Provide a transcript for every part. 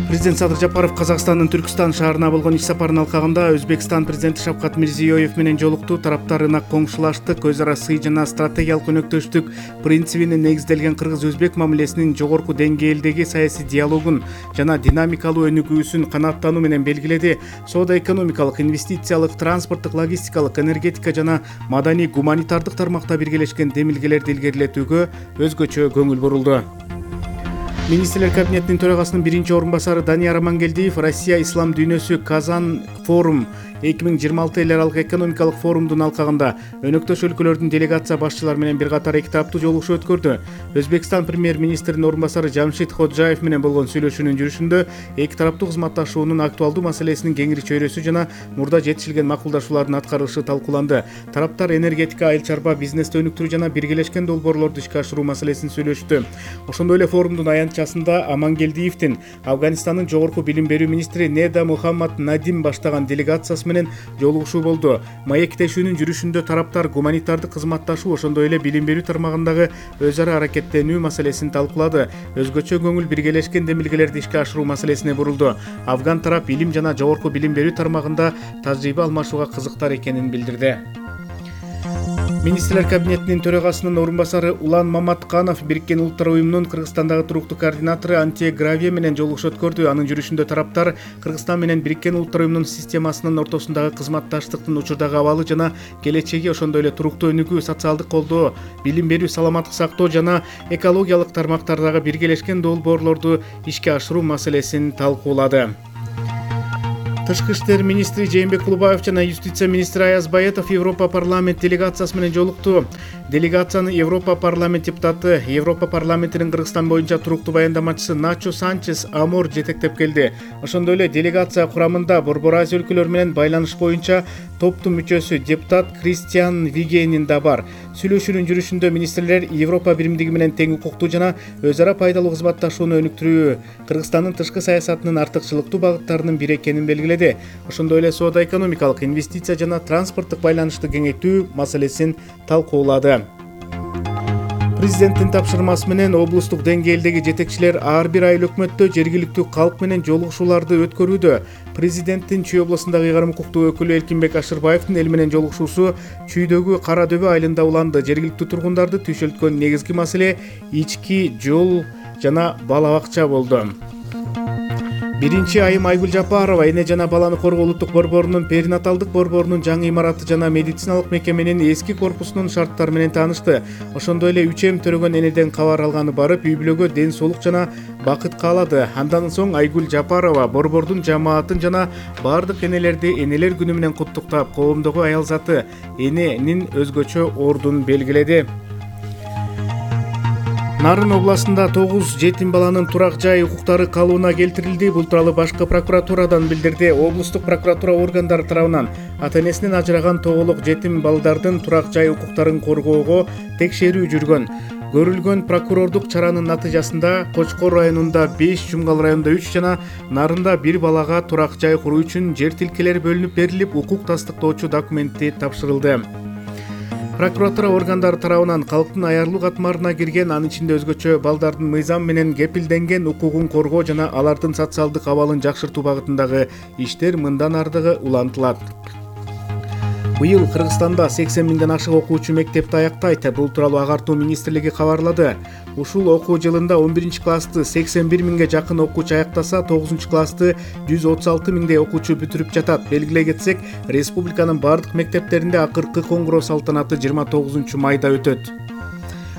Президент Садыр Жапаров Казакстандын Түркстан шаарына болгон иш сапарынын алкагында Өзбекстан президенти Шавкат Мирзиёев менен жолукту. Тараптар ынак коңшулаштык, өз ара сый жана стратегиялык өнөктөштүк принцибине негизделген кыргыз-өзбек мамилесинин жогорку деңгээлдеги саясий диалогун жана динамикалуу өнүгүүсүн канааттануу менен белгиледи. Соода-экономикалык, инвестициялык, транспорттук, логистикалык, энергетика жана маданий-гуманитардык тармакта биргелешкен демилгелерди илгерилетүүгө өзгөчө көңүл бурулду. Министрлер кабинетинин төрагасынын биринчи орун басары Данияр Амангелдиев Россия ислам дүйнөсү Казан форум 2026 эл аралык экономикалык форумдун алкагында өнөктөш өлкөлөрдүн делегация башчылары менен бир катар эки тараптуу жолугушуу өткөрдү. Өзбекстан премьер-министринин орун басары Жамшид Ходжаев менен болгон сүйлөшүүнүн жүрүшүндө эки тараптуу кызматташуунун актуалдуу маселесинин кеңири чөйрөсү жана мурда жетишилген макулдашуулардын аткарылышы талкууланды. Тараптар энергетика, айыл чарба бизнести өнүктүрүү жана биргелешкен долбоорлорду ишке ашыруу маселесин сүйлөштү. Ошондой эле форумдун аянтчасында Амангелдиевдин Афганистандын жогорку билим берүү министри Неда Мухаммад Надим баштаган делегациясы менен жолугушуу болду. Маектешүүнүн жүрүшүндө тараптар гуманитардык кызматташуу, ошондой эле билим берүү тармагындагы өз ара аракеттенүү маселесин талкуулады. Өзгөчө көңүл биргелешкен демилгелерди ишке ашыруу маселесине бурулду. Афган тарап илим жана жогорку билим берүү тармагында тажрыйба алмашууга кызыктар экенин билдирди. Министрлер кабинетинин төрагасынын орун басары Улан Маматканов Бириккен Улуттар уюмунун Кыргызстандагы туруктуу координатору Антия Гравия менен жолугушуу өткөрдү. Анын жүрүшүндө тараптар Кыргызстан менен Бириккен Улуттар уюмунун системасынын ортосундагы кызматташтыктын учурдагы абалы жана келечеги, ошондой эле туруктуу өнүгүү, социалдык колдоо, билим берүү, саламаттык сактоо жана экологиялык тармактардагы биргелешкен долбоорлорду ишке ашыруу маселесин талкуулады. Тышкы иштер министри Жээнбек Кулубаев жана юстиция министри Аяз Баетов Европа парламент делегациясы менен жолукту. Делегацияны Европа парламент депутаты, Европа парламентинин Кыргызстан боюнча туруктуу баяндамачысы Начо Санчес Амор жетектеп келди. Ошондой эле делегация курамында Борбор Азия өлкөлөрү менен байланыш боюнча топтун мүчөсү депутат Кристиан Вигенин да бар. Сүйлөшүүнүн жүрүшүндө министрлер Европа биримдиги менен тең укуктуу жана өз ара пайдалуу кызматташууну өнүктүрүү Кыргызстандын тышкы саясатынын артыкчылыктуу багыттарынын бири экенин белгиледи. Ошондой эле соода-экономикалык, инвестиция жана транспорттук байланышты кеңейтүү маселесин талкуулады. Президенттин тапшырмасы менен облустук деңгээлдеги жетекчилер ар бир айыл өкмөттө жергиликтүү калк менен жолугушууларды өткөрүүдө. Президенттин Чүй облусундагы ыйгарым укуктуу өкүлү Элкинбек Ашырбаевдин эл менен жолугушуусу Чүйдөгү Кара Дөбө айылында уланды. Жергиликтүү тургундарды түйшөлткөн негизги маселе ички жол жана бала бакча болду. Биринчи айым Айгүл Жапарова эне жана баланы коргоо улуттук борборунун перинаталдык борборунун жаңы имараты жана медициналык мекеменин эски корпусунун шарттары менен таанышты. Ошондой эле 3 төрөгөн энеден кабар алганы барып, үй-бүлөгө ден соолук жана бакыт каалады. Андан соң Айгүл Жапарова борбордун жамаатын жана бардык энелерди Энелер күнү менен куттуктап, коомдогу аял заты эненин өзгөчө ордун белгиледи. Нарын областында 9 жетим баланын турак жай укуктары калыбына келтирилди. Бул тууралуу башкы прокуратурадан билдирди. Облустук прокуратура органдары тарабынан ата-энесинен ажыраган тоголок жетим балдардын турак жай укуктарын коргоого текшерүү жүргөн. Көрүлгөн прокурордук чаранын натыйжасында Кочкор районунда 5, Жумгал районунда 3 жана Нарында 1 балага турак жай куруу үчүн жер тилкелери бөлүнүп берилип, укук тастыктоочу документи тапшырылды. Прокуратура органдары тарабынан калктын аярлуу катмарына кирген, анын ичинде өзгөчө балдардын мыйзам менен кепилденген укугун коргоо жана алардын социалдык абалын жакшыртуу багытындагы иштер мындан ардыгы улантылат. Быйыл Кыргызстанда 80 миңден ашык окуучу мектепти аяктайт. Бул тууралуу Агартуу министрлиги кабарлады. Ушул окуу жылында 11-классты 81 миңге жакын окуучу аяктаса, 9-классты 136 миңдей окуучу бүтүрүп жатат. Белгилей кетсек, республиканын бардык мектептеринде акыркы коңгуроо салтанаты 29 майда өтөт.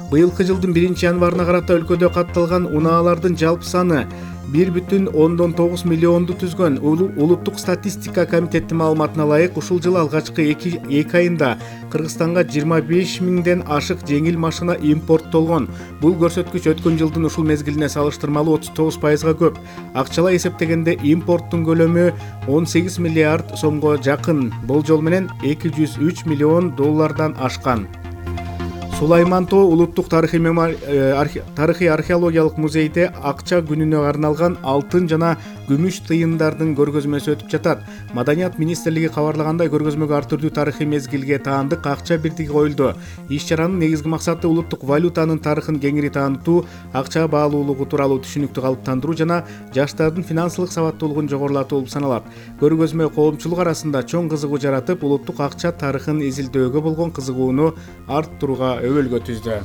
Быйылкы жылдын 1-январына карата өлкөдө катталган унаалардын жалпы саны 1,9 миллионду түзгөн. Улуттук статистика комитетинин маалыматына ылайык, ушул жылы алгачкы 2 айында Кыргызстанга 25 миңден ашык жеңил машина импорттолгон. Бул көрсөткүч өткөн жылдын ушул мезгилине салыштырмалуу 39%га көп. Акчалай эсептегенде импорттун көлөмү 18 миллиард сомго жакын. Болжол менен 203 миллион доллардан ашкан. Сулайман Тоо улуттук тарыхый археологиялык музейде акча күнүнө арналган алтын жана күмүш тыйындардын көргөзмөсү өтүп жатат. Маданият министрлиги кабарлагандай, көргөзмөгө ар түрдүү тарыхый мезгилге таандык акча бирдиги коюлду. Иш-чаранын негизги максаты улуттук валютанын тарыхын кеңири таанытуу, акча баалуулугу тууралуу түшүнүктү калыптандыруу жана жаштардын финансылык сабаттуулугун жогорулатуу болуп саналат. Көргөзмө коомчулук арасында чоң кызыгуу жаратып, улуттук акча тарыхын изилдөөгө болгон кызыгууну арттырууга өбөлгө түздү.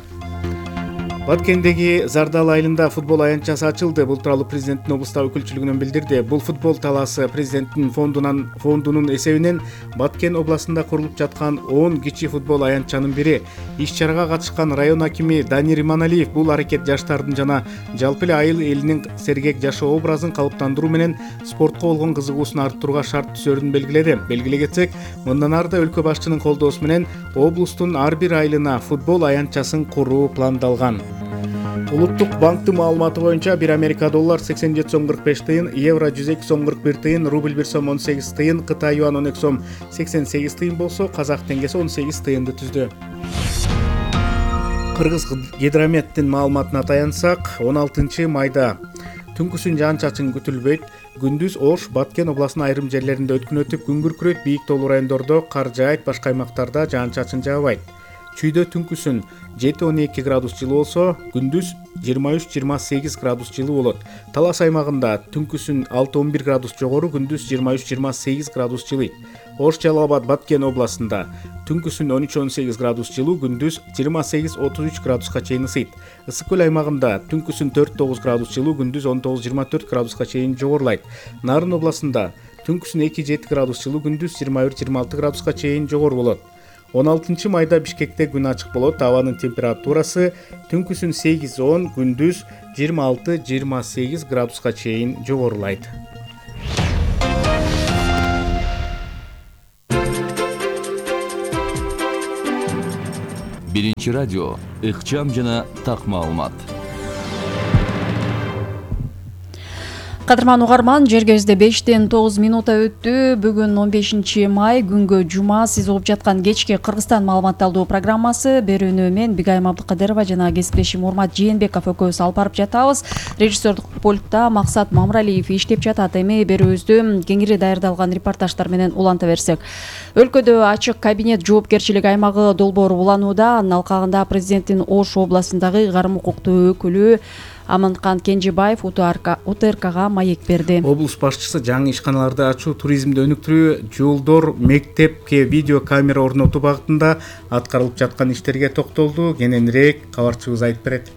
Баткендеги Зардал айылында футбол аянтчасы ачылды. Бул тууралуу президенттин облустагы өкүлчүлүгүнөн билдирди. Бул футбол талаасы президенттин фондунун эсебинен Баткен областында курулуп жаткан 10 кичи футбол аянтчанын бири. Иш-чарага катышкан район акими Данир Иманалиев бул аракет жаштардын жана жалпы эле айыл элинин сергек жашоо образын калыптандыруу менен спортко болгон кызыгуусун арттырууга шарт түсөрүн белгиледи. Белгилей кетсек, мындан ары да өлкө башчынын колдоосу менен облустун ар бир айылына футбол аянтчасын куруу пландалган. Улуттук банктын маалыматы боюнча 1 Америка доллар 87 сом 45 тыйын, евро 102 сом 41 тыйын, рубль 1 сом 18 тыйын, Кытай юан 12 сом 88 тыйын болсо, казак теңгеси 18 тыйынды түздү. Кыргыз гидрометтин маалыматына таянсак, 16 майда түнкүсүн жаан-чачын күтүлбөйт. Күндүз Ош, Баткен областынын айрым жерлеринде өткүн өтүп, күн күркүрөйт, бийик тоолуу райондордо кар жаайт, башка аймактарда жаан-чачын жаабайт. Чүйдө түнкүсүн 7-12 градус жылуу болсо, күндүз 23-28 градус жылуу болот. Талас аймагында түнкүсүн 6-11 градус жогору, күндүз 23-28 градус жылыйт. Ош, Жалал Абад, Баткен областында түнкүсүн 13-18 градус жылуу, күндүз 28-33 градуска чейин ысыйт. Ысык көл аймагында түнкүсүн 4-9 градус жылуу, күндүз 19-24 градуска чейин жогорулайт. Нарын областында түнкүсүн 2-7 градус жылуу, күндүз 21-26 градуска чейин жогору болот. 16 майда Бишкекте күн ачык болот. Абанын температурасы түнкүсүн 8-10, күндүз 26-28 градуска чейин жогорулайт. Биринчи радио, ыкчам жана так маалымат. Кадырман угарман, жергебизде 5-9 өттү. Бүгүн 15 май, күнгө жума. Сиз угуп жаткан кечки Кыргызстан маалыматталдуу программасы. Берүүнү мен Бигайым Абдыкадырова жана кесиптешим Урмат Жээнбеков экөөбүз алып барып жатабыз. Режиссердук пультта Максат Мамыралиев иштеп жатат. Эми берүүбүздү кеңири даярдалган репортаждар менен уланта берсек. Өлкөдө ачык кабинет жоопкерчилик аймагы долбоору уланууда. Анын алкагында президенттин Ош областындагы ыйгарым укуктуу өкүлү Аманкан Кенжебаев УТРКга маек берди. Облус башчысы жаңы ишканаларды ачуу, туризмди өнүктүрүү, жолдор, мектепке видео камера орнотуу багытында аткарылып жаткан иштерге токтолду. Кененирээк кабарчыбыз айтып берет.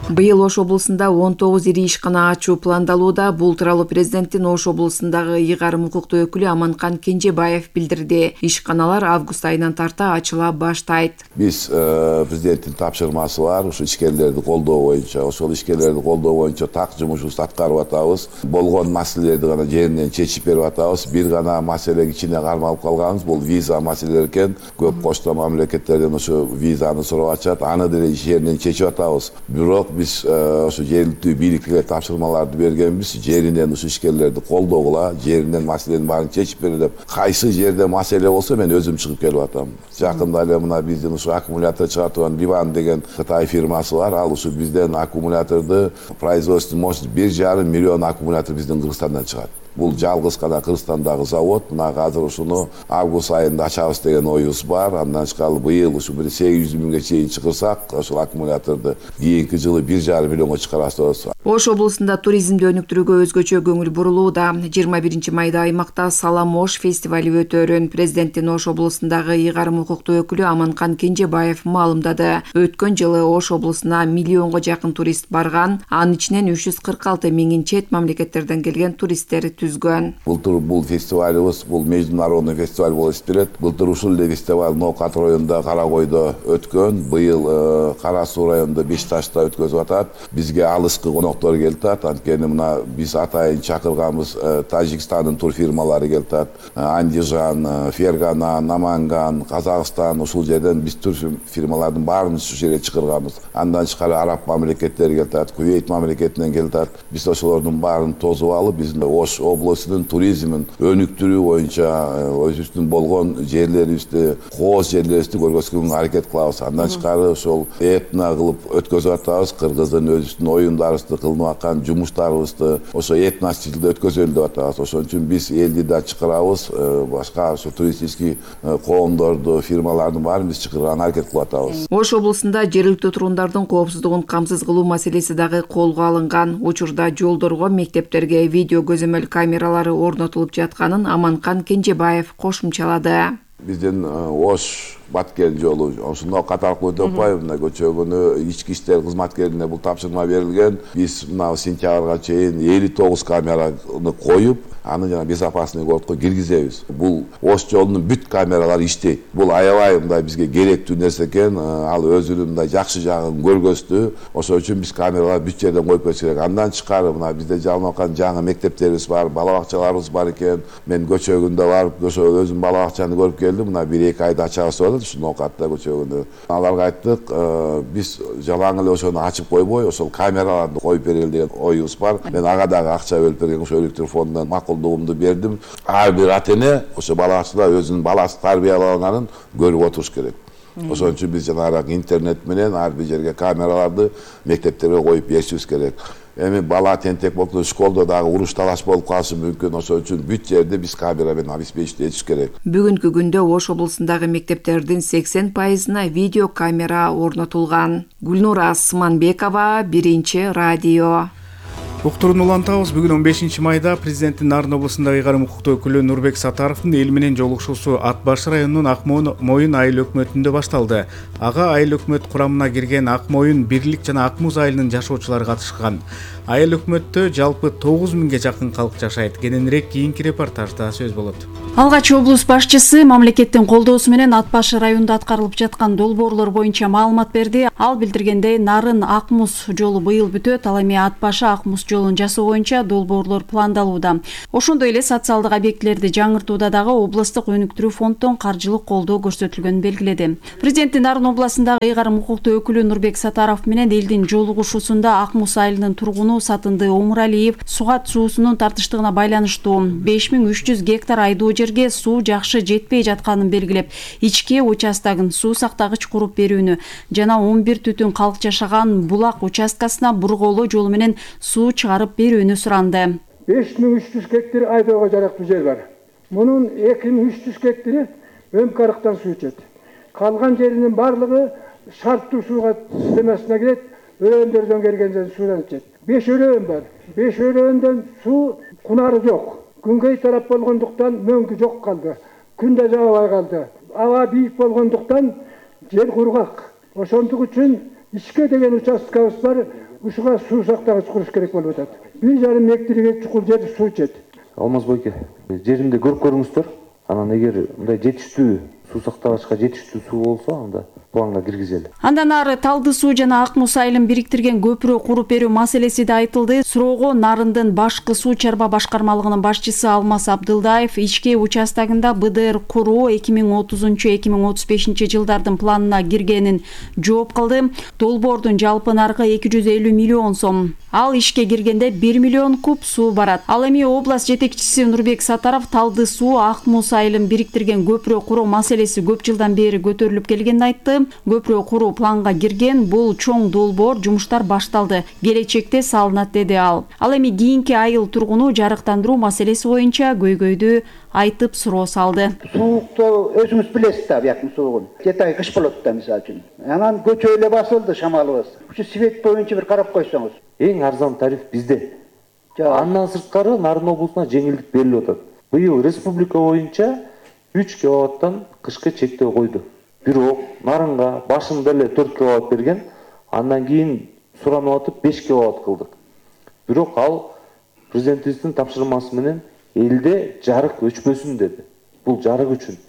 Быйыл Ош облусунда 19 ири ишкана ачуу пландалууда. Бул тууралуу президенттин Ош облусундагы ыйгарым укуктуу өкүлү Аманкан Кенжебаев билдирди. Ишканалар август айынан тарта ачыла баштайт. Биз президенттин тапшырмасы бар, ушу ишкерлерди колдоо боюнча, ошол ишкерлерди колдоо боюнча так жумушубузду аткарып атабыз. Болгон маселелерди гана жеринен чечип берип атабыз. Бир гана маселе кичине кармалып калганбыз, бул виза маселелери экен. Көп кошто мамлекеттерден ошо визаны сурап атышат, аны деле жеринен чечип атабыз. Бирок биз ошо жергиликтүү бийликке тапшырмаларды бергенбиз, жеринен ушу ишкерлерди колдогула, жеринен маселенин баарын чечип бере деп. Кайсы жерде маселе болсо мен өзүм чыгып келип атам. Жакында эле мына биздин ушу аккумулятор чыгартып Ливан деген Кытай фирмасы бар. Ал ушу бизден аккумуляторду производственный мощность 1,5 миллион аккумулятор биздин Кыргызстандан чыгат. Бул жалгыз гана Кыргызстандагы завод. Мына азыр ушуну август айында ачабыз деген оюбуз бар. Андан тышкары быйыл ушу 800 миңге чейин чыгырсак, ошол аккумуляторду кийинки жылы 1,5 миллионго чыгарабыз. Ош облусунда туризмди өнүктүрүүгө өзгөчө көңүл бурулууда. 21 майда аймакта Салам Ош фестивали өтөөрүн президенттин Ош облусундагы ыйгарым укуктуу өкүлү Аманкан Кенжебаев маалымдады. Өткөн жылы Ош облусуна миллионго жакын турист барган. Анын ичинен 346 миңин чет мамлекеттерден келген туристтер түзгөн. Былтыр бул фестивалыбыз, бул международный фестиваль болуп эсептелет. Былтыр ушул эле фестиваль Ноокат районунда, Каракойдо өткөн. Быйыл Кара Суу районунда, Бешташта өткөн өткөзүп атат. Бизге алыскы коноктор келип атат. Анткени мына биз атайын чакырганбыз Тажикстандын турфирмалары келип атат. Андижан, Фергана, Наманган, Казакстан ушул жерден биз турфирмалардын баарын ушул жерге чакырганбыз. Андан тышкары араб мамлекеттери келип атат, Кувейт мамлекетинен келип атат. Биз ошолордун баарын тосуп алып, биздин Ош областынын туризмин өнүктүрүү боюнча өзүбүздүн болгон жерлерибизди, кооз жерлерибизди көргөзгөнгө аракет кылабыз. Андан тышкары ошол этно кылып өткөзүп атабыз. Кыргыздын өзүбүздүн оюндарыбызды, кылынып аткан жумуштарыбызды ошо этно стилде өткөзөлү деп атабыз. Ошон үчүн биз элди да чакырабыз, башка ошо туристический коомдорду, фирмалардын баарын биз чакырганга аракет кылып атабыз. Ош облусунда жергиликтүү тургундардын коопсуздугун камсыз кылуу маселеси дагы колго алынган. Учурда жолдорго, мектептерге видео көзөмөл камералары орнотулуп жатканын Аманкан Кенжебаев кошумчалады. Биздин Ош Баткен жолу ошондо каталык өтөппай, мына көчөгүнү ички иштер кызматкерине бул тапшырма берилген. Биз мына сентябрга чейин 59 камераны коюп, аны жана безопасный городко киргизебиз. Бул Ош жолунун бүт камералары иштейт. Бул аябай мындай бизге керектүү нерсе экен. Ал өзүнүн мындай жакшы жагын көргөздү. Ошол үчүн биз камераларды бүт жерден коюп кетиш керек. Андан тышкары мына бизде жалынып аткан жаңы мектептерибиз бар, бала бакчаларыбыз бар экен. Мен көчөгүндө барып, ошо өзүм бала бакчаны көрүп келдим. Мына 1-2 айда ачабыз деп ушуну катта көчөгүндө. Аларга айттык, биз жалаң эле ошону ачып койбой, ошол камераларды коюп берели деген оюбуз бар. Мен ага дагы акча бөлүп берген, ошо электр фондунан макулдугумду бердим. Ар бир ата эне ошо бала бакчада өзүнүн баласы тарбияланганын көрүп отуруш керек. Ошон үчүн биз жанагы интернет менен ар бир жерге камераларды мектептерге коюп беришибиз керек. Эми бала тентек болду, школдо дагы уруш талаш болуп калышы мүмкүн. Ошон үчүн бүт жерде биз камера менен обеспечить этиш керек. Бүгүнкү күндө Ош облусундагы мектептердин 80%-на видео камера орнотулган. Гүлнура Асманбекова, Биринчи радио. Уктурууну улантабыз. Бүгүн 15 майда президенттин Нарын облусундагы ыйгарым укуктуу өкүлү Нурбек Сатаровдун эл менен жолугушуусу Ат баш районунун Ак Моюн айыл өкмөтүндө башталды. Ага айыл өкмөт курамына кирген Ак Моюн, Бирлик жана Ак Муз айылынын жашоочулары катышкан. Айыл өкмөттө жалпы 9000ге жакын калк жашайт. Кененирээк кийинки репортажда сөз болот. Алгач облус башчысы мамлекеттин колдоосу менен Ат баш районунда аткарылып жаткан долбоорлор боюнча маалымат берди. Ал билдиргендей, Нарын Ак Муз жолу быйыл бүтөт. Ал эми Ат башы Ак Муз жолун жасоо боюнча долбоорлор пландалууда. Ошондой эле социалдык объектилерди жаңыртууда дагы облустук өнүктүрүү фонддон каржылык колдоо көрсөтүлгөнүн белгиледи. Президенттин Нарын областындагы ыйгарым укуктуу өкүлү Нурбек Сатаров менен элдин жолугушуусунда Ак Муз айылынын тургуну Сатынды Омуралиев Сугат суусунун тартыштыгына байланыштуу 5300 гектар айдоо жерге суу жакшы жетпей жатканын белгилеп, ички участогун суу сактагыч куруп берүүнү жана 11 түтүн калк жашаган булак участкасына бурголоо жолу менен суу чыгарып берүүнү суранды. 5300 гектар айдоого жарактуу жер бар. Мунун 2300 гектары Өмкарыктан суу ичет. Калган жеринин барлыгы шарттуу сууга системасына кирет, өрөөндөрдөн келген суудан ичет. 5 өрөөн бар. 5 өрөөндөн суу кунары жок. Күнгөй тарап болгондуктан мөңкү жок калды. Күн да жаабай калды. Аба бийик болгондуктан жер кургак. Ошондук үчүн ичке деген участкабыз бар. Ушуга суу сактагыч куруш керек болуп атат. 1,5 гектарга чукул жер суу ичет. Алмаз бойке, жеринде көрүп көрүңүздөр. Анан эгер мындай жетиштүү суу сактагычка жетиштүү суу болсо, анда планга киргизели. Андан ары Талды суу жана Ак Муз айылын бириктирген көпүрө куруп берүү маселеси да айтылды. Суроого Нарындын башкы суу чарба башкармалыгынын башчысы Алмаз Абдылдаев ички участогунда БДР куруу 2030-2035 жылдардын планына киргенин жооп кылды. Долбоордун жалпы наркы 250 миллион сом. Ал ишке киргенде 1 миллион куб суу барат. Ал эми область жетекчиси Нурбек Сатаров Талды суу Ак Муз айылын бириктирген көпүрө куруу маселеси көп жылдан бери көтөрүлүп келгенин айтты. Көпүрө куруу планга кирген, бул чоң долбоор, жумуштар башталды. Келечекте салынат деди ал. Ал эми кийинки айыл тургуну жарыктандыруу маселеси боюнча көйгөйдү айтып суроо салды. Суукту өзүңүз билесиз да, бияктын суугун. 7 ай кыш болот да мисалы үчүн. Анан көчө эле басылды шамалыбыз. Ушу свет боюнча бир карап койсоңуз. Эң арзан тариф бизде. Андан сырткары Нарын облусуна жеңилдик берилип атат. Быйыл республика боюнча 3 киловаттан кышкы чектөө койду. Бирок Нарынга башында эле 4 киловатт берген, андан кийин суранып атып 5 киловатт кылдык. Бирок ал президентибиздин тапшырмасы менен элде жарык өчпөсүн деди. Бул жарык үчүн.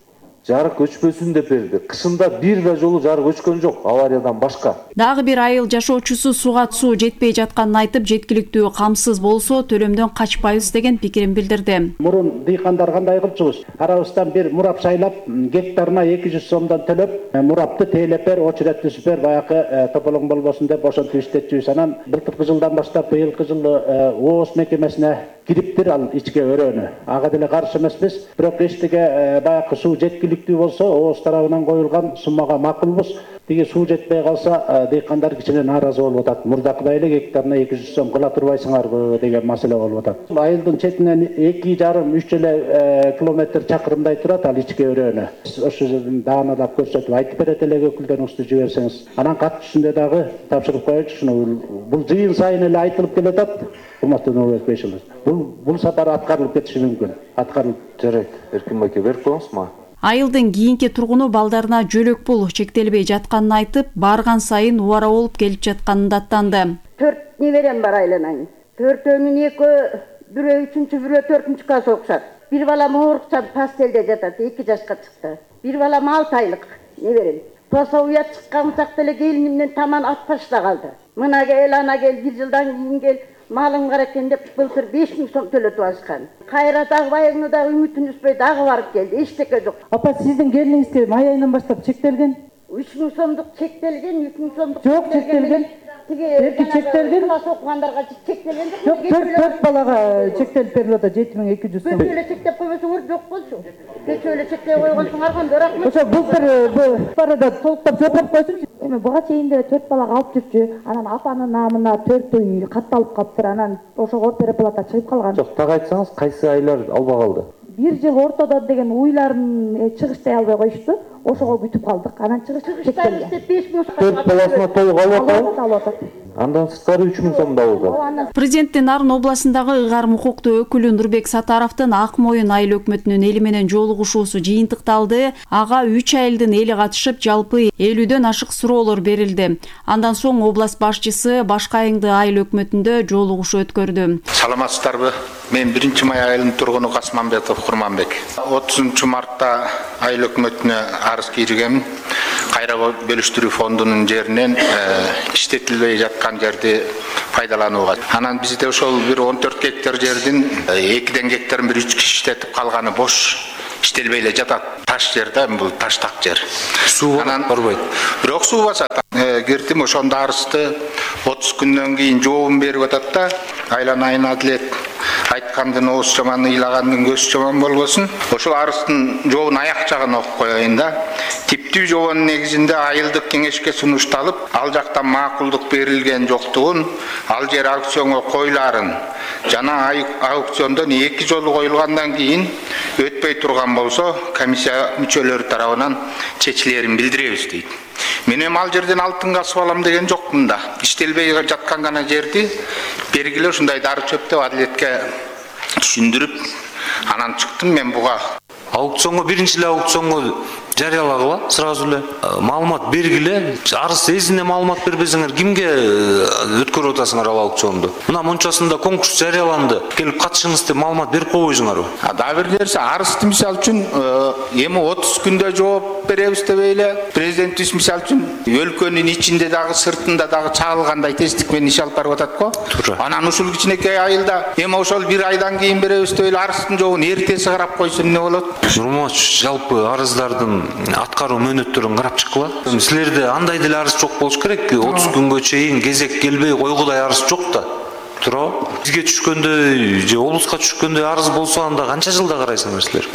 жарык өчпөсүн деп берди. Кышында бир да жолу жарык өчкөн жок, авариядан башка. Дагы бир айыл жашоочусу суга суу жетпей жатканын айтып, жеткиликтүү камсыз болсо төлөмдөн качпайбыз деген пикирин билдирди. Мурун дыйкандар кандай кылчубуз? Арабыздан бир мурап шайлап, гектарына 200 сомдон төлөп, мурапты тейлеп бер, очерет түзүп бер, баягы тополоң болбосун деп ошентип иштетчүбүз. Анан былтыркы жылдан баштап быйылкы жылы ООС мекемесине кириптир ал ичке өрөөнү. Ага деле каршы эмеспиз. Бирок эчтеге баягы суу жеткиликтүү болсо, ООС тарабынан коюлган суммага макулбуз. Тиги суу жетпей калса, дыйкандар кичине нааразы болуп атат. Мурдакыдай эле гектарына 200 сом кыла турбайсыңарбы деген маселе болуп атат. Айылдын четинен 2,5-3 эле километр чакырымдай турат ал ичке өрөөнү. Ошол жерден даанадап көрсөтүп айтып берет эле өкүлдөрүңүздү жиберсеңиз. Анан катышында дагы тапшырып коелучу ушуну. Бул жыйын сайын эле айтылып келатат. Урматтуу Нурбек Бейшилов. Бул сапар аткарылып кетиши мүмкүн. Аткарылып жарайт. Эркин байке берип коюңузма. Айылдын кийинки тургуну балдарына жөлөк пул чектелбей жатканын айтып, барган сайын убара болуп келип жатканын даттанды. 4 неберем бар айланайын. 4-өнүн 2 бирөө 3-чү, бирөө 4-чү класс окушат. Бир балам оорукча пастелде жатат, 2 жашка чыкты. Бир балам 6 айлык неберем. Пособия чыккан чакта эле келинимден таман ат башта калды. Мына кел, ана кел, бир жылдан кийин кел. Малым бар экен деп былтыр 5000 сом төлөтүп алышкан. Кайра дагы байыгыны дагы үмүтүн үзбөй дагы барып келди. Эчтеке жок. Апа, сиздин келиниңизге май айынан баштап чектелген? 3000 сомдук чектелген, 3000 сомдук жок чектелген. Тиги чектелген. Класс окугандарга чектелген жок. Жок, 4 балага чектелип берилип атат 7200 сом. Көчөлө чектеп койбосоңор жок болчу. Көчөлө чектеп койгонсуңар кандай рахмат. Ошо былтыр барада толуктап жооп койсунчу. Эми буга чейин деле 4 балага алып жүрчү. Анан апанын намына 4 үй катталып калыптыр. Анан ошого переплата чыгып калган. Жок, так айтсаңыз, кайсы айлар албай калды? Бир жыл ортодо деген уйларын чыгыштай албай коюшту. Ошого бүтүп калдык. Анан чыгыш чектелген. 4 баласына толук алып атат. Андан сырткары 3000 сом да болду. Президенттин Нарын областындагы ыйгарым укуктуу өкүлү Нурбек Сатаровдун Ак Моюн айыл өкмөтүнүн эли менен жолугушуусу жыйынтыкталды. Ага 3 айылдын эли катышып, жалпы 50дөн ашык суроолор берилди. Андан соң область башчысы Башка Айыңды айыл өкмөтүндө жолугушуу өткөрдү. Саламатсыздарбы? Мен 1-май айылынын тургуну Касманбетов Курманбек. 30-мартта айыл өкмөтүнө арыз киргем. Кайра бөлүштүрүү фондунун жеринен иштетилбей жаткан жерди пайдаланууга. Анан бизде ошол бир 14 гектар жердин 2 гектарын бир 3 киши иштетип калганы бош иштелбей эле жатат. Таш жер да, бул таштак жер. Суу барбайт. Бирок суу басат. Кирдим, ошондо арызды 30 күндөн кийин жообун берип атат да. Айланайын Адилет айткандын ооз жаман, ыйлагандын көз жаман болбосун. Ошол арыздын жообун аяк жагын окуп коеюн да. Типтүү жообунун негизинде айылдык кеңешке сунушталып, ал жактан макулдук берилген жоктугун, ал жер аукционго коюларын жана аукциондон 2 жолу коюлгандан кийин өтпөй турган болсо, комиссия мүчөлөрү тарабынан чечилерин билдиребиз дейт. Мен эми ал жерден алтын касып алам деген жокмун да. Иштелбей жаткан гана жерди бергиле ушундай дары чөп деп Адилетке түшүндүрүп, анан чыктым мен буга. Аукционго биринчи эле аукционго жарыялагыла, сразу эле маалымат бергиле. Арыз эзине маалымат бербесеңер, кимге өткөрүп атасыңар ал аукционду? Мына мончасында конкурс жарыяланды, келип катышыңыз деп маалымат берип койбойсуңарбы? Дагы бир нерсе, арызды мисалы үчүн эми 30 күндө жооп беребиз деп эле президентибиз мисалы үчүн өлкөнүн ичинде дагы сыртында дагы чагылгандай тесттик менен иш алып барып атат го. Анан ушул кичинекей айылда эми ошол 1 айдан кийин беребиз деп эле арыздын жообун эртеси карап койсо эмне болот? Нурматович, жалпы арыздардын аткаруу мөөнөттөрүн карап чыккыла. Силерде андай деле арыз жок болуш керек. 30 күнгө чейин кезек келбей койгудай арыз жок да. Туурабы? Бизге түшкөндөй же облуска түшкөндөй арыз болсо анда канча жылда карайсыңар силер?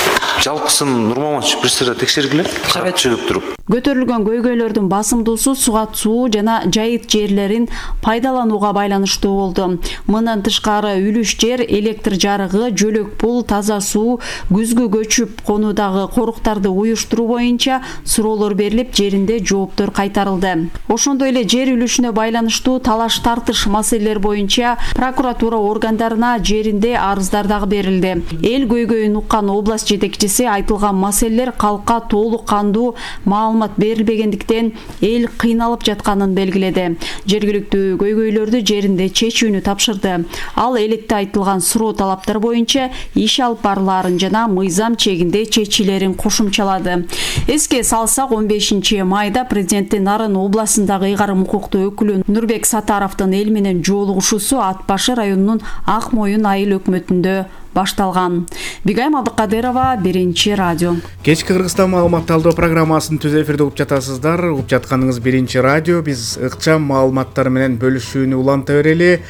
Жалпысын Нурмаматович бир сыйра текшергиле. Карап чыгып туруп. Көтөрүлгөн көйгөйлөрдүн басымдуусу суга суу жана жайыт жерлерин пайдаланууга байланыштуу болду. Мындан тышкары үлүш жер, электр жарыгы, жөлөк пул, таза суу, күзгү көчүп конуудагы коруктарды уюштуруу боюнча суроолор берилип, жеринде жооптор кайтарылды. Ошондой эле жер үлүшүнө байланыштуу талаш тартыш маселелер боюнча прокуратура органдарына жеринде арыздар дагы берилди. Эл көйгөйүн уккан область жетекчиси айтылган маселелер калкка толук кандуу маалымат маалымат берилбегендиктен эл кыйналып жатканын белгиледи. Жергиликтүү көйгөйлөрдү жеринде чечүүнү тапшырды. Ал элетте айтылган суроо талаптар боюнча иш алып барылаарын жана мыйзам чегинде чечилерин кошумчалады. Эске салсак, 15 майда президенттин Нарын областындагы ыйгарым укуктуу өкүлү Нурбек Сатаровдун эл менен жолугушуусу Ат башы районунун Ак Моюн айыл өкмөтүндө башталган. Бигайм Абдыкадырова, Биринчи радио. Кечки Кыргызстан маалымат алдоо программасын түз эфирде угуп жатасыздар. Угуп жатканыңыз Биринчи радио. Биз ыкчам маалыматтар менен бөлүшүүнү уланта берели.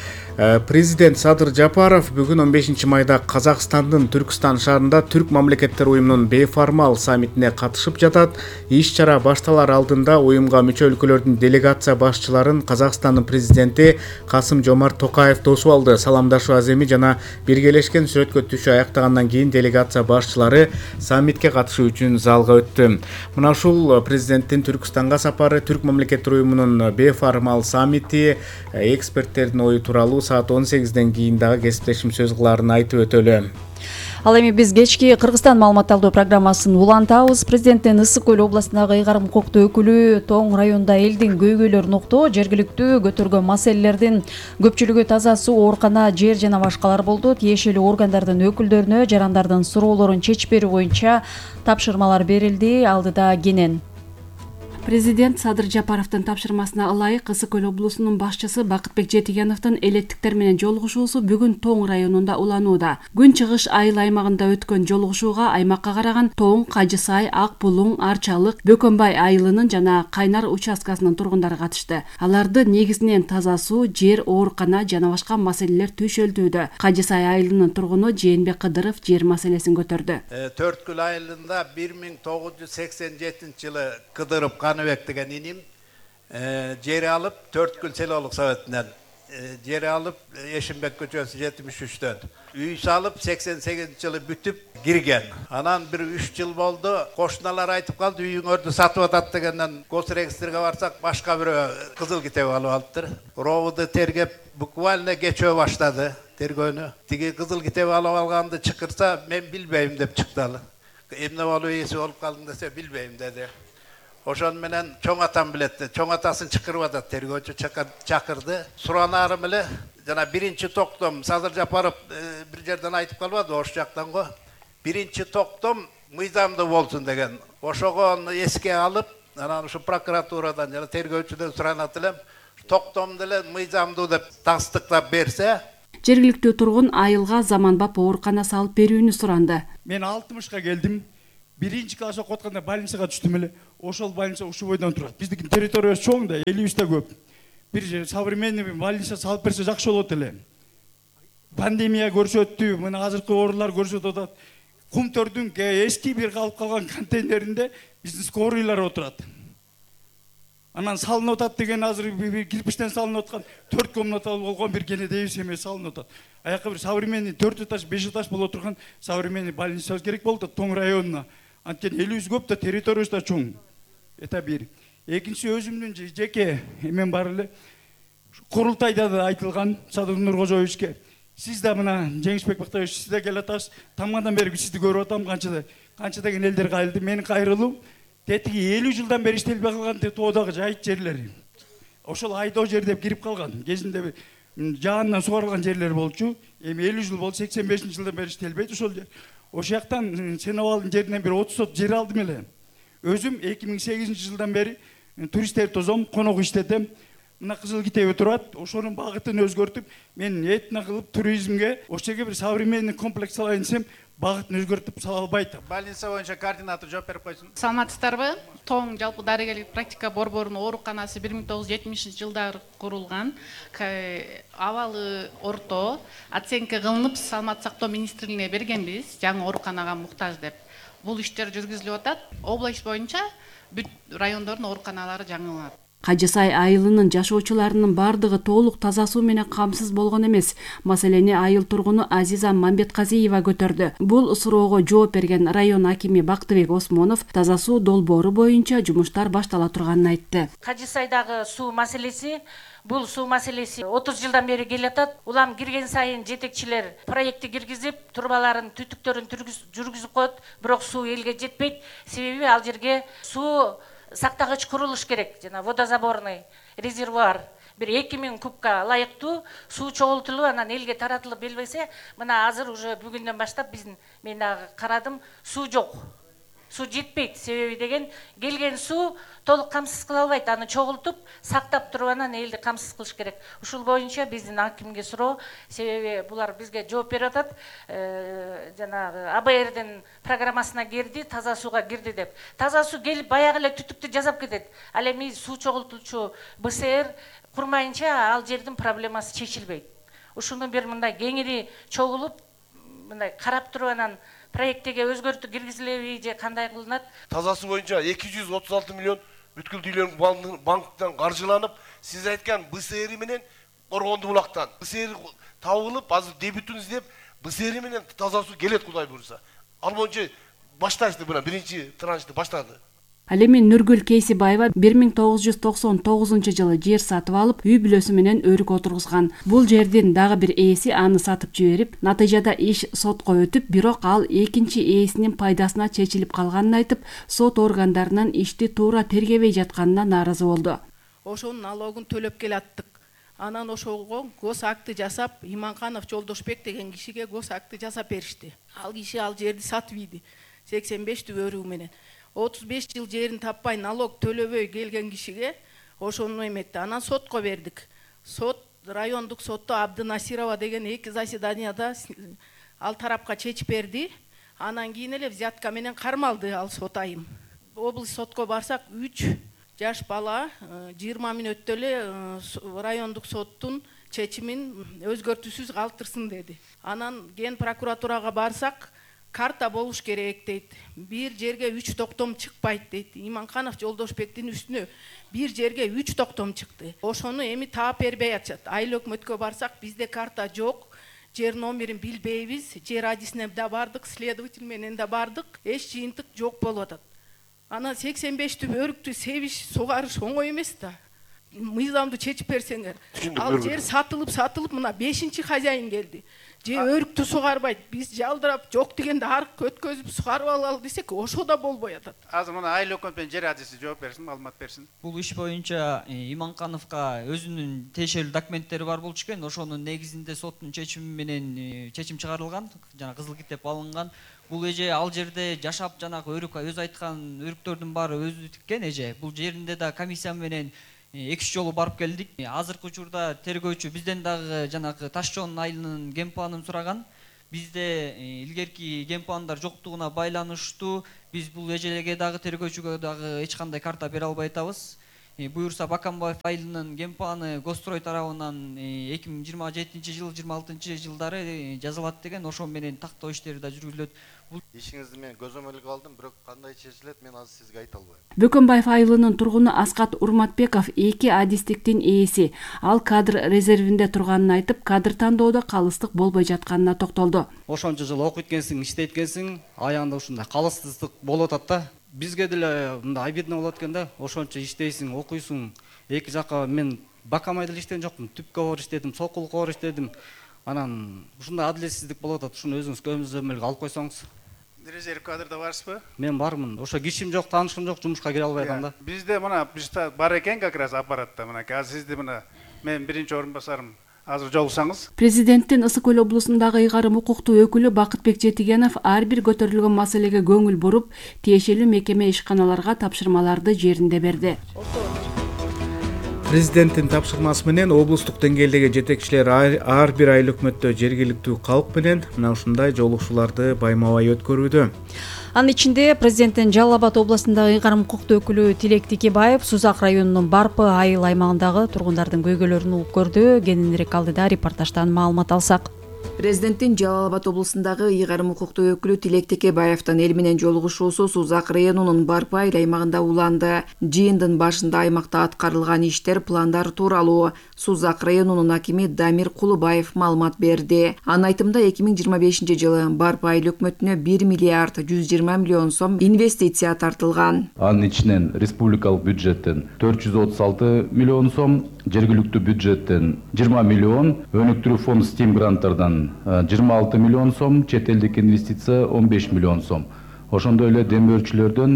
Президент Садыр Жапаров бүгүн 15 майда Казакстандын Түркстан шаарында Түрк мамлекеттер уюмунун бейформал саммитине катышып жатат. Иш-чара башталар алдында уюмга мүчө өлкөлөрдүн делегация башчыларын Казакстандын президенти Касым-Жомарт Токаев тосуп алды. Саламдашуу аземи жана биргелешкен сүрөткө түшүү аяктагандан кийин делегация башчылары саммитке катышуу үчүн залга өттү. Мына ушул президенттин Түркстанга сапары, Түрк мамлекеттер уюмунун бейформал саммити, эксперттердин ою тууралуу саат 18ден кийин дагы кесиптешим сөз кылаарын айтып өтөлү. Ал эми биз кечки Кыргызстан маалымат алдоо программасын улантабыз. Президенттин Ысык Көл областындагы ыйгарым укуктуу өкүлү Тоң районунда элдин көйгөйлөрүн уктоо, жергиликтүү көтөргөн маселелердин көпчүлүгү таза суу, оорукана, жер жана башкалар болду. Тиешелүү органдардын өкүлдөрүнө жарандардын суроолорун чечип берүү боюнча тапшырмалар берилди. Алдыда Кенен. Президент Садыр Жапаровдун тапшырмасына ылайык Ысык Көл облусунун башчысы Бакытбек Жетигеновдун элеттиктер менен жолугушуусу бүгүн Тоң районунда уланууда. Күн чыгыш айыл аймагында өткөн жолугушууга аймакка караган Тоң, Кажысай, Ак Булуң, Арчалык, Бөкөнбай айылынын жана Кайнар участкасынын тургундары катышты. Аларды негизинен таза суу, жер, оорукана жана башка маселелер түйшөлтүүдө. Кажысай айылынын тургуну Жээнбек Кыдыров жер маселесин көтөрдү. Төрткүл айылында 1987-жылы Кыдыров Каныбек деген иним жер алып, Төрткүл селолук советинен жер алып, Эшимбек көчөсү 73-төн. Үй салып 88-жылы бүтүп кирген. Анан бир 3 жыл болду, кошуналар айтып калды, үйүңөрдү сатып атат дегенден госрегистрге барсак, башка бирөө кызыл китеп алып алыптыр. Ровуду тергеп, буквально кечөө баштады тергөөнү. Тиги кызыл китеп алып алганды чакырса, мен билбейм деп чыкталы. Эмне болуп эси болуп калдың десе, билбейм деди. Ошон менен чоң атам билет. Чоң атасын чакырып атат, тергөөчү чакырды. Суранары меле жана биринчи токтом Садыр Жапаров бир жерден айтып калбады, ош жактан го. Биринчи токтом мыйзамдуу болсун деген. Ошого эске алып, анан ушу прокуратурадан жана тергөөчүдөн суранат элем. Токтом деле мыйзамдуу деп тастыктап берсе, жергиликтүү тургун айылга заманбап оорукана салып берүүнү суранды. Мен 60-ка келдим. Биринчи класс окутканда больницага түштүм эле. Ошол больница ушу бойдон турат. Биздин территориясы чоң да, 50-те көп. Бир современный больница салып берсе жакшы болот эле. Пандемия көрсөттү, мына азыркы оорулар көрсөтүп атат. Кумтөрдүн эски бир калып калган контейнеринде биздин скоройлар отурат. Анан салынып атат деген азыр бир кирпичтен салынып аткан 4 комнаталуу болгон бир кенедей семья салынып атат. Аякка бир современный 4 этаж, 5 этаж боло турган современный больница керек болду Тоң районуна. Анткени элибиз көп да, территориясы да чоң. Это бир. Экинчи, өзүмдүн жеке эмен бар эле. Курултайда да айтылган Садыр Нуркожоевичке. Сиз да мына Жеңишбек Бактаевич, сиз да келип атасыз. Тамадан бери сизди көрүп атам, канча деген элдер кайрылды. Менин кайрылуу тетиги 50 жылдан бери иштелбей калган тоодагы жайыт жерлери. Ошол айдоо жер деп кирип калган. Кезинде жаандан сугарылган жерлер болчу. Эми 50 жыл болду, 85-жылдан бери иштелбейт ошол жер. Ошол жактан Сенобалдын жеринен бир 30 сот жер алдым эле. Өзүм 2008-жылдан бери туристтерди тозом, конок иштетем. Мына кызыл китеби турат, ошонун багытын өзгөртүп, мен этно кылып туризмге, ошол жерге бир современный комплекс салайын десем, багытын өзгөртүп сала албайт. Больница боюнча координатор жооп берип койсун. Саламатсыздарбы? Тоң жалпы дарыгерлик практика борборунун ооруканасы 1970-жылдары курулган. Абалы орто, оценка кылынып, саламат сактоо министрлигине бергенбиз, жаңы ооруканага муктаж деп. Бул иштер жүргүзүлүп атат. Область боюнча бүт райондордун ооруканалары жаңыланат. Кажысай айылынын жашоочуларынын бардыгы толук таза суу менен камсыз болгон эмес. Маселени айыл тургуну Азиза Мамбетказиева көтөрдү. Бул суроого жооп берген район акими Бактыбек Осмонов таза суу долбоору боюнча жумуштар баштала турганын айтты. Кажысайдагы суу маселеси бул суу маселеси 30 жылдан бери келатат. Улам кирген сайын жетекчилер проектти киргизип, турбаларын, түтүктөрүн жүргүзүп коет, бирок суу элге жетпейт. Себеби ал жерге суу сактагыч курулуш керек, жана водозаборный резервуар бир 2000 кубка ылайыктуу суу чогултулуп анан элге таратылып берилбесе, мына азыр уже бүгүндөн баштап мен дагы карадым, суу жок. Суу жетпейт, себеби деген келген суу толук камсыз кыла албайт, аны чогултуп, сактап туруп анан элди камсыз кылыш керек. Ушул боюнча биздин акимге суроо, себеби булар бизге жооп берип атат. Жанагы АБРдин программасына кирди, таза сууга кирди деп. Таза суу келип баягы эле түтүктү жасап кетет. Ал эми суу чогултуучу БСР курмайынча ал жердин проблемасы чечилбейт. Ушуну бир мындай кеңири чогулуп, мындай карап туруп анан проекттеге өзгөртүү киргизилеби же кандай кылынат? Таза суу боюнча 236 миллион бүткүл Дүйнөлүк банктан каржыланып, сиз айткан БСР менен Коргонду булактан. БСР табылып, азыр дебютун издеп, БСР менен таза суу келет Кудай буйруса. Ал боюнча башташты мына биринчи траншты баштады. Ал эми Нургүл Кейсибаева 1999 жылы жер сатып алып, үй бүлөсү менен өрүк отургузган. Бул жердин дагы бир ээси аны сатып жиберип, натыйжада иш сотко өтүп, бирок ал экинчи ээсинин пайдасына чечилип калганын айтып, сот органдарынын ишти туура тергебей жатканына нааразы болду. Ошонун налогун төлөп келаттык. Анан ошого гос акты жасап, Иманканов Жолдошбек деген кишиге гос акты жасап беришти. Ал киши ал жерди сатып ийди. 85 өрүгү менен. 35 жыл жерин таппай налог төлөбөй келген кишиге ошону эметти. Анан сотко бердик. Сот райондук сотто Абдынасирова деген 2 заседанияда ал тарапка чечип берди. Анан кийин эле взятка менен кармалды ал сот айым. Облус сотко барсак 3 жаш бала 20 мүнөттө эле райондук соттун чечимин өзгөртүүсүз калтырсын деди. Анан ген прокуратурага барсак карта болуш керек дейт. Бир жерге 3 токтом чыкпайт дейт. Иманканов Жолдошбектин үстүнө бир жерге 3 токтом чыкты. Ошону эми таап бербей атышат. Айыл өкмөткө барсак бизде карта жок. Жер номерин билбейбиз. Жер адисине да бардык, следователь менен да бардык. Эч жыйынтык жок болуп атат. Анан 85 өрүктү себиш, сугарыш оңой эмес да. Мыйзамды чечип берсеңер. Ал жер сатылып мына 5-чи хозяин келди. Же өрүктү сугарбайт, биз жалдырап жок дегенде арык өткөзүп сугарып алалы десек, ошо да болбой атат. Азыр мына айыл өкмөтүнүн жер адиси жооп берсин, маалымат берсин. Бул иш боюнча Иманкановго өзүнүн тиешелүү документтери бар болчу экен, ошонун негизинде соттун чечими менен чечим чыгарылган, жана кызыл китеп алынган. Бул эже ал жерде жашап жанагы өрүк өзү айткан өрүктөрдүн баары өзү тиккен эже. Бул жеринде да комиссия менен 2 жолу барып келдик. Азыркы учурда тергөөчү бизден дагы жанагы Таш чоң айылынын ген планын сураган. Бизде илгерки ген пландар жоктугуна байланыштуу биз бул эжелерге дагы тергөөчүгө дагы эч кандай карта бере албай атабыз. Буюрса Бакамбаев айылынын ген планы Гострой тарабынан 2027 жыл 26 жылдары жазылат деген, ошо менен тактоо иштери да жүргүзүлөт. Ишиңизди мен көзөмөлгө алдым, бирок кандай чечилет мен азыр сизге айта албайм. Бөкөнбаев айылынын тургуну Аскат Урматбеков 2 адистиктин ээси. Ал кадр резервинде турганын айтып, кадр тандоодо калыстык болбой жатканына токтолду. Ошончо жыл окуйт экенсиң, иштейт экенсиң, аягында ушундай калыстык болуп атат да. Бизге деле мындай обидно болот экен да. Ошончо иштейсиң, окуйсуң. Эки жакка мен Бакамайда иштеген жокмун, түпкө бар иштедим, сокулукка бар иштедим. Анан ушундай адилетсиздик болуп атат. Ушуну өзүңүз көзөмөлгө алып койсоңуз. Резерв кадрда барсызбы? Мен бармын. Ошо кишим жок, таанышым жок, жумушка кире албай атам да. Бизде мына бизде бар экен как раз аппаратта. Мына азыр сизди мына мен биринчи орун басарым. Азыр жолуксаңыз. Президенттин Ысык Көл облусундагы ыйгарым укуктуу өкүлү Бакытбек Жетигенов ар бир көтөрүлгөн маселеге көңүл буруп, тиешелүү мекеме ишканаларга тапшырмаларды жеринде берди. Президенттин тапшырмасы менен облустук деңгээлдеги жетекчилер ар бир айыл өкмөттө жергиликтүү калк менен мына ушундай жолугушууларды байма-бай өткөрүүдө. Анын ичинде президенттин Жалал Абад областындагы ыйгарым укуктуу өкүлү Тилек Тикебаев Сузак районунун Барпы айыл аймагындагы тургундардын көйгөйлөрүн угуп көрдү. Кененирээк алдыда репортаждан маалымат алсак. Президенттин Жалал Абад облусундагы ыйгарым укуктуу өкүлү Тилек Текебаевдин эл менен жолугушуусу Сузак районунун Барпы айыл аймагында уланды. Жыйындын башында аймакта аткарылган иштер, пландар тууралуу Сузак районунун акими Дамир Кулубаев маалымат берди. Анын айтымында 2025 жылы Барпы айыл өкмөтүнө 1 миллиард 120 миллион сом инвестиция тартылган. Анын ичинен республикалык бюджеттен 436 миллион сом, жергиликтүү бюджеттен 20 миллион, өнүктүрүү фонд стим гранттардан 26 миллион сом, чет элдик инвестиция 15 миллион сом. ошондой эле демөөрчүлөрдөн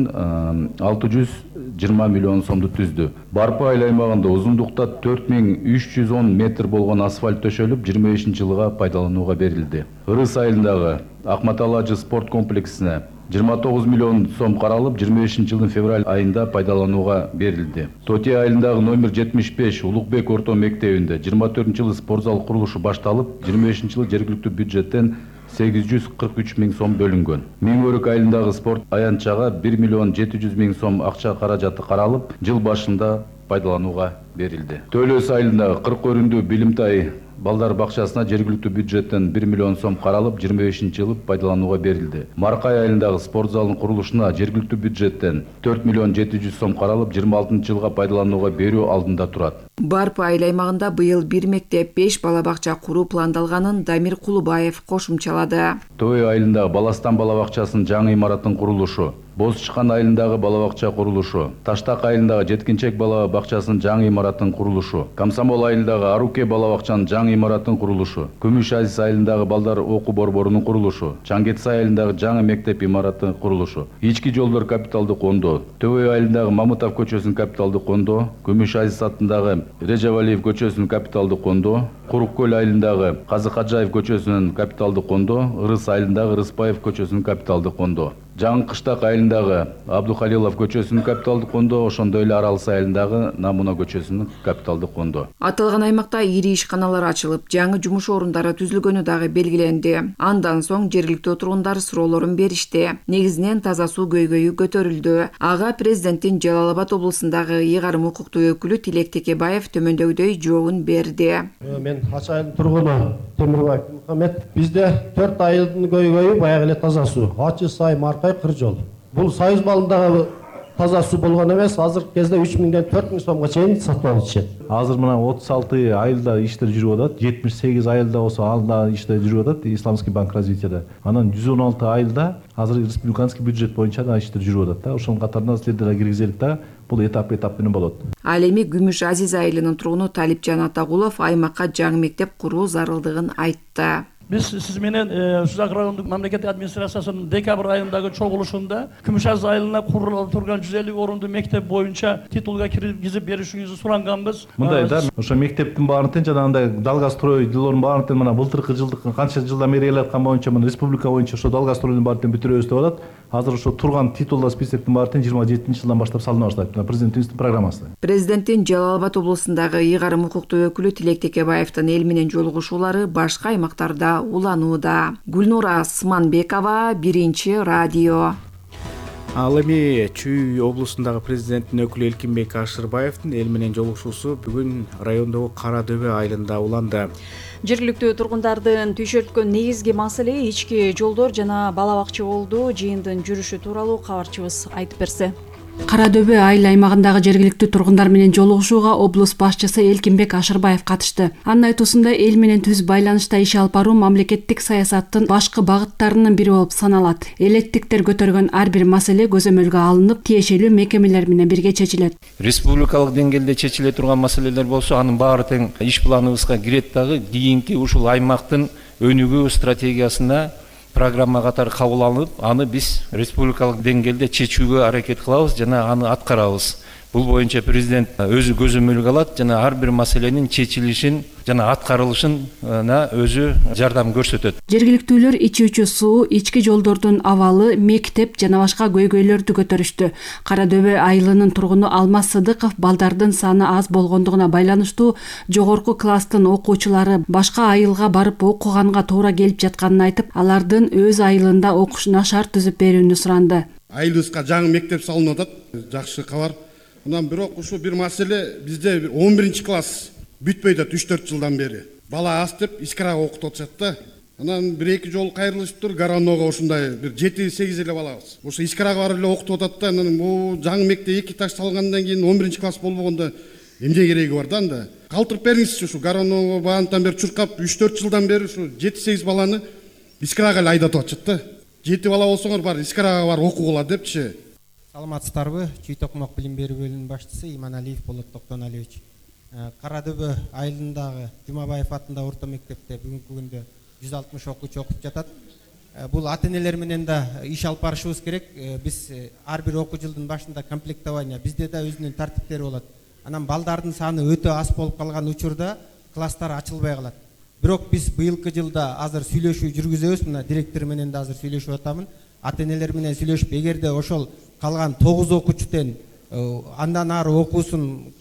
620 миллион сомду түздү. Барпы айыл аймагында узундукта 4310 метр болгон асфальт төшөлүп 25-жылга пайдаланууга берилди. Ырыс айылындагы Акматалажы спорт комплексине 29 миллион сом каралып, 25-жылдын февраль айында пайдаланууга берилди. Тоте айылындагы номер 75 Улукбек орто мектебинде 24-жылы спортзал курулушу башталып, 25-жылы жергиликтүү бюджеттен 843 миң сом бөлүнгөн. Миңөрүк айылындагы спорт аянтчага 1 миллион 700 миң сом акча каражаты каралып, жыл башында пайдаланууга берилди. Төлөс айылындагы 40 өрүндүү Билимтай балдар бакчасына жергиликтүү бюджеттен 1 миллион сом каралып, 25-жылы пайдаланууга берилди. Маркай айылындагы спорт залынын курулушуна жергиликтүү бюджеттен 4 миллион 700 сом каралып, 26-жылга пайдаланууга берүү алдында турат. Барпы айыл аймагында быйыл 1 мектеп, 5 бала бакча куруу пландалганын Дамир Кулубаев кошумчалады. Той айылындагы Баластан бала бакчасынын жаңы имараттын курулушу, Боз Чыкан айылындагы бала бакча курулушу, Таштак айылындагы жеткинчек бала бакчасынын жаңы имараттын курулушу, Комсомол айылындагы Аруке бала бакчанын жаңы имараттын курулушу, Күмүш Азиз айылындагы балдар окуу борборунун курулушу, Чаңгетсай айылындагы жаңы мектеп имараттын курулушу, Ички жолдор капиталдык кондоо, Төбөй айылындагы Мамытов көчөсүнүн капиталдык кондоо, Күмүш Азиз аттындагы Режавалиев көчөсүнүн капиталдык кондоо, Курук көл айылындагы Казы Каджаев көчөсүнүн капиталдык кондоо, Ырыс айылындагы Рыспаев көчөсүнүн капиталдык кондоо, Жаңы Кыштак айылындагы Абдухалилов көчөсүнүн капиталдык кондоо, ошондой эле Аралсы айылындагы Намуна көчөсүнүн капиталдык кондоо. Аталган аймакта ири ишканалар ачылып, жаңы жумуш орундары түзүлгөнү дагы белгиленди. Андан соң жергиликтүү тургундар суроолорун беришти. Негизинен таза суу көйгөйү көтөрүлдү. Ага президенттин Жалал Абад облусундагы ыйгарым укуктуу өкүлү Тилек Текебаев төмөндөгүдөй жообун берди. Мен Ачы айылдын тургуну Темирбаев Мухаммед. Бизде 4 айылдын көйгөйү баягы эле таза суу. Ачы сай, Маркай, Кыржол. Бул Союз балындагы таза суу болгон эмес, азыркы кезде 3000ден 4000 сомго чейин сатып алып ичет. Азыр мына 36 айылда иштер жүрүп атат, 78 айылда болсо алда иштер жүрүп атат Исламский банк развитияда. Анан 116 айылда азыр республиканский бюджет боюнча да иштер жүрүп атат да. Ошонун катарында силерди да киргизелик да. Бул этап менен болот. Ал эми Күмүш Азиз айылынын тургуну Талипжан Атагулов аймакка жаңы мектеп куруу зарылдыгын айтты. Biz siz менен Сузак райондук мамлекеттик администрациясынын декабрь айындагы чогулушунда Күмүш Азиз айылына курулуп турган 150 орунду мектеп боюнча титулга киргизип беришиңизди суранганбыз. Мындай да, ошо мектептин баарын тең жанагындай Далгастрой жылдын баарын тең мына былтыркы жылдык канча жылдан бери элаткан боюнча мына республика боюнча ошо Далгастройдун баарын тең бүтүрөбүз деп атат. Азыр ошо турган титулда списоктун баарын тең 27-жылдан баштап салына баштайт. Президентибиздин программасы. Президенттин Жалал Абад облусундагы ыйгарым укуктуу өкүлү Тилек Текебаевдин эл менен жолугушуулары башка аймактарда уланууда. Гүлнура Сманбекова, Биринчи радио. Ал эми Чүй облусундагы президенттин өкүлү Элкинбек Ашырбаевдин эл менен жолугушуусу бүгүн райондогу Кара Дөбө айылында уланды. Жергиликтүү тургундардын түйшөлткөн негизги маселе ички жолдор жана бала бакча болду. Жыйындын жүрүшү тууралуу кабарчыбыз айтып берсе. Кара Дөбө айыл аймагындагы жергиликтүү тургундар менен жолугушууга облус башчысы Элкинбек Ашырбаев катышты. Анын айтуусунда эл менен түз байланышта иш алып баруу мамлекеттик саясаттын башкы багыттарынын бири болуп саналат. Элеттиктер көтөргөн ар бир маселе көзөмөлгө алынып, тиешелүү мекемелер менен бирге чечилет. Республикалык деңгээлде чечиле турган маселелер болсо, анын баары тең иш планыбызга кирет дагы кийинки ушул аймактын өнүгүү стратегиясына программа катары кабыл алынып, аны биз республикалык деңгээлде чечүүгө аракет кылабыз жана аны аткарабыз. Бул боюнча президент өзү көзөмөлгө алат жана ар бир маселенин чечилишин жана аткарылышына өзү жардам көрсөтөт. Жергиликтүүлөр ичүүчү суу, ички жолдордун абалы, мектеп жана башка көйгөйлөрдү көтөрүштү. Кара Дөбө айылынын тургуну Алмаз Сыдыков балдардын саны аз болгондугуна байланыштуу жогорку класстын окуучулары башка айылга барып окуганга туура келип жатканын айтып, алардын өз айылында окушуна шарт түзүп берүүнү суранды. Айылыбызга жаңы мектеп салынып атат. Жакшы кабар. Мындан бирок ушу бир маселе, бизде 11-класс бүтпөй да 3-4 жылдан бери. Бала аз деп искрага окутуп атышат да. Анан 1-2 жолу кайрылышыптыр, Гаранога ушундай бир 7-8 эле балабыз. Ошо искрага барып эле окутуп атат да. Анан бул жаңы мектеп 2 этаж салгандан кийин 11-класс болбогондо эмне кереги бар да анда? Калтырып бериңизчи ушу Гаранога баантан бери чуркап 3-4 жылдан бери ушу 7-8 баланы искрага эле айдатып атышат да. 7 бала болсоңор бар искрага бар окугула депчи. Саламатсыздарбы? Чүй Токмок билим берүү бөлүмүнүн башчысы Иманалиев Болот Токтоналиевич. Кара Дөбө айылындагы Жумабаев атындагы орто мектепте бүгүнкү күндө 160 окуучу окуп жатат. бул ата энелер менен да иш алып барышыбыз керек. Биз ар бир окуу жылдын башында комплектование бизде да өзүнүн тартиптери болот. Анан балдардын саны өтө аз болуп калган учурда класстар ачылбай калат. Бирок биз быйылкы жылда азыр сүйлөшүү жүргүзөбүз. Мына директор менен да азыр сүйлөшүп атамын. Ата энелер менен сүйлөшүп, эгерде ошол калган 9 окуучуден андан ары окуусун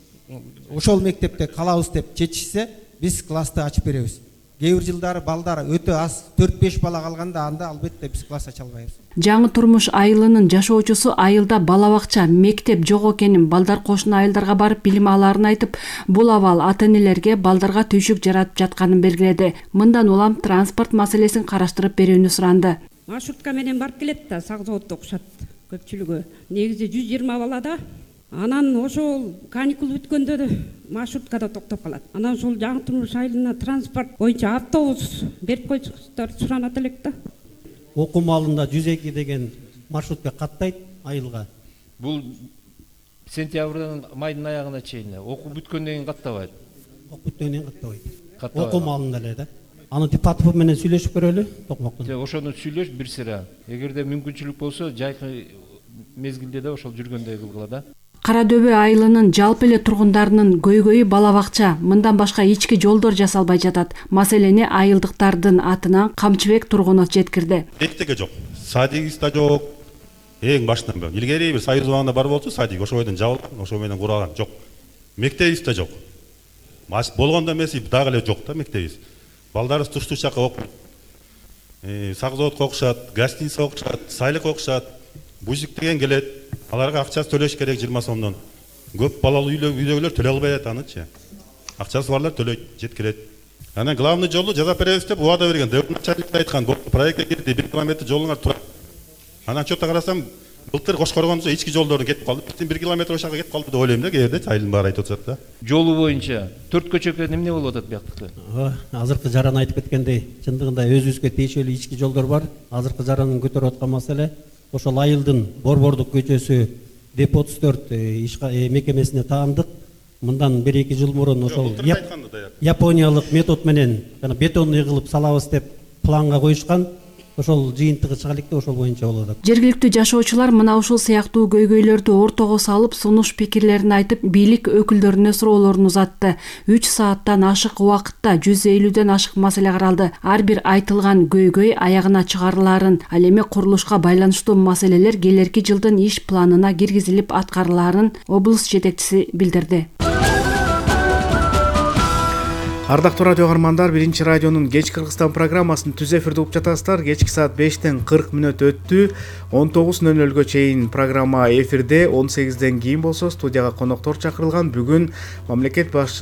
ошол мектепте калабыз деп чечишсе, биз классты ачып беребиз. Кээ бир жылдары балдар өтө аз 4-5 бала калганда анда албетте биз класс ача албайбыз. Жаңы турмуш айылынын жашоочусу айылда бала бакча, мектеп жок экенин, балдар кошуна айылдарга барып билим алаарын айтып, бул абал ата энелерге балдарга түйшүк жаратып жатканын белгиледи. Мындан улам транспорт маселесин караштырып берүүнү суранды. Маршрутка менен барып келет да, сак заводдо окушат көпчүлүгү. Негизи 120 бала да. Анан ошол каникул бүткөндө маршруткада токтоп калат. Анан ошол жаңы турмуш айылына транспорт боюнча автобус берип койсуңуздар суранат элек да. Окуу маалында 102 деген маршрутка каттайт айылга. Бул сентябрдын майдын аягына чейин окуу бүткөндөн кийин каттабайт. Окуу бүткөндөн кийин каттабайт. Окуу маалында эле да. Аны депутат менен сүйлөшүп көрөлү, токмоктун. Ошону сүйлөш бир сыра. Эгерде мүмкүнчүлүк болсо, жайкы мезгилде да ошол жүргөндөй кылгыла да. Кара дөбө айылынын жалпы эле тургундарынын көйгөйү бала бакча, мындан башка ички жолдор жасалбай жатат. Маселени айылдыктардын атынан Камчыбек Тургунов жеткирди. Мектепте жок, садигибиз да жок. Эң башынан бери. Илгери бир союз убагында бар болчу, садик ошол бойдон жабылган, ошол менен куралган жок. Мектебибиз да жок. Болгондо эмес, дагы эле жок да мектебибиз. Балдарыбыз туш-туш жака окуйт. Сак заводко окушат, гостиница окушат, сайлык окушат. Бузик деген келет. Аларга акчасы төлөш керек 20 сомдон. Көп балалуу үйлөгүлөр төлөй албай атанычы. Акчасы барлар төлөйт, жеткирет. Анан главный жолду жасап беребиз деп убада берген. Начальник айткан, проектке кирди, 1 километр жолуңар турат. Анан чөтө карасам, былтыр Кошкоргондо ички жолдордун кетип калды. Биздин 1 километр ошага кетип калды деп ойлойм да, кээде айылдын баары айтып атат да. Жолу боюнча 4 көчөккө эмне болуп атат бияктыкта? Азыркы жаран айтып кеткендей, чындыгында өзүбүзгө тиешелүү ички жолдор бар. Азыркы жаранын көтөрүп аткан маселе ошол айылдын Борбордук көчөсү Деп 34 мекемесине таандык. Мындан 1-2 жыл мурун ошол Япониялык метод менен бетонный кылып салабыз деп планга коюшкан. Ошол жыйынтыгы чыга электе ошол боюнча болот. Жергиликтүү жашоочулар мына ушул сыяктуу көйгөйлөрдү ортого салып, сунуш пикирлерин айтып, бийлик өкүлдөрүнө суроолорун узатты. 3 сааттан ашык убакытта 150ден ашык маселе каралды. Ар бир айтылган көйгөй аягына чыгарылаарын, ал эми курулушка байланыштуу маселелер келерки жылдын иш планына киргизилип аткарылаарын облус жетекчиси билдирди. Ардактуу радио каармандар, 1-радионун Кеч Кыргызстан программасын түз эфирде угуп жатасыздар. Кечки саат 5-тен 40 мүнөт өттү. 19:00 чейин программа эфирде, 18-ден кийин болсо студияга коноктор чакырылган. Бүгүн мамлекет башчы